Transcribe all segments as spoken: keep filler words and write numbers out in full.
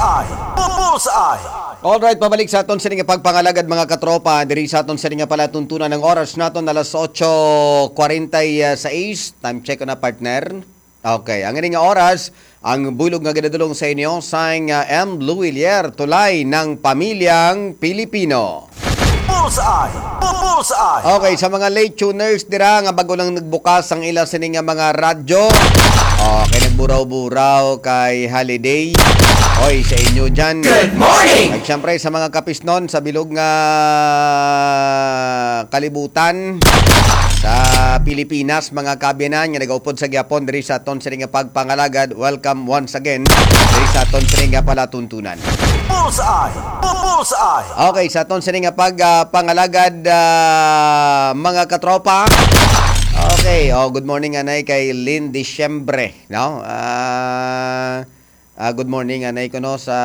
Ay, Bullseye! Alright, pabalik sa aton sini nga pagpangalagad, mga katropa. Diri sa aton sini nga palatuntunan, ang oras naton alas otso kwarenta y seis. Time check na, partner. Okay, ang ini nga oras, ang bulog nga ginadulong sa inyo sang, ah, M Luwilier, tulay ng pamilyang Pilipino. Bullseye! Bullseye! Okay, sa mga late tuners dira nga bago lang nagbukas ang ila sini nga mga radyo. Okay, nagburaw-buraw kay holiday. Oy, sa inyo dyan. Good morning! At syempre, sa mga kapisnon sa bilog nga kalibutan, sa Pilipinas, mga kabiyanan nga nagaupod sa gyapon diri sa aton sini nga pagpangalagad, welcome once again diri sa aton sini nga palatuntunan. Bullseye! Bullseye! Okay, sa aton sini nga pag, ah, pangalagad, ah, mga katropa. Okay, oh, good morning anay kay Lynn Diciembre, no? Ah, ah, good morning anay ko, no, sa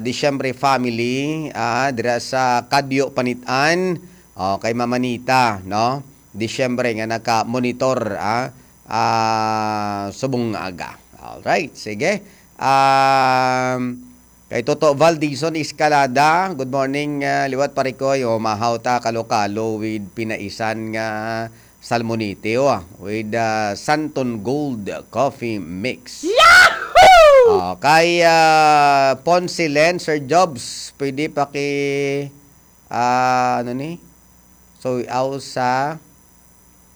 Diciembre family, ah, dira sa Kadyo Panitan. Oh, kay Mama Nita, no? Diciembre nga naka-monitor, ah, ah, subong nga aga. Alright, sige. Um, kay Toto Valdison Escalada, good morning, ah, liwat pare ko, yo, mahaw ta kalo-kalo with pinaisan nga salmonite, oh, with, ah, Santon Gold Coffee Mix. Yahoo! Oh, kay, ah, Ponce Len, Sir Jobs, pwede paki, ah, ano ni? So, aw sa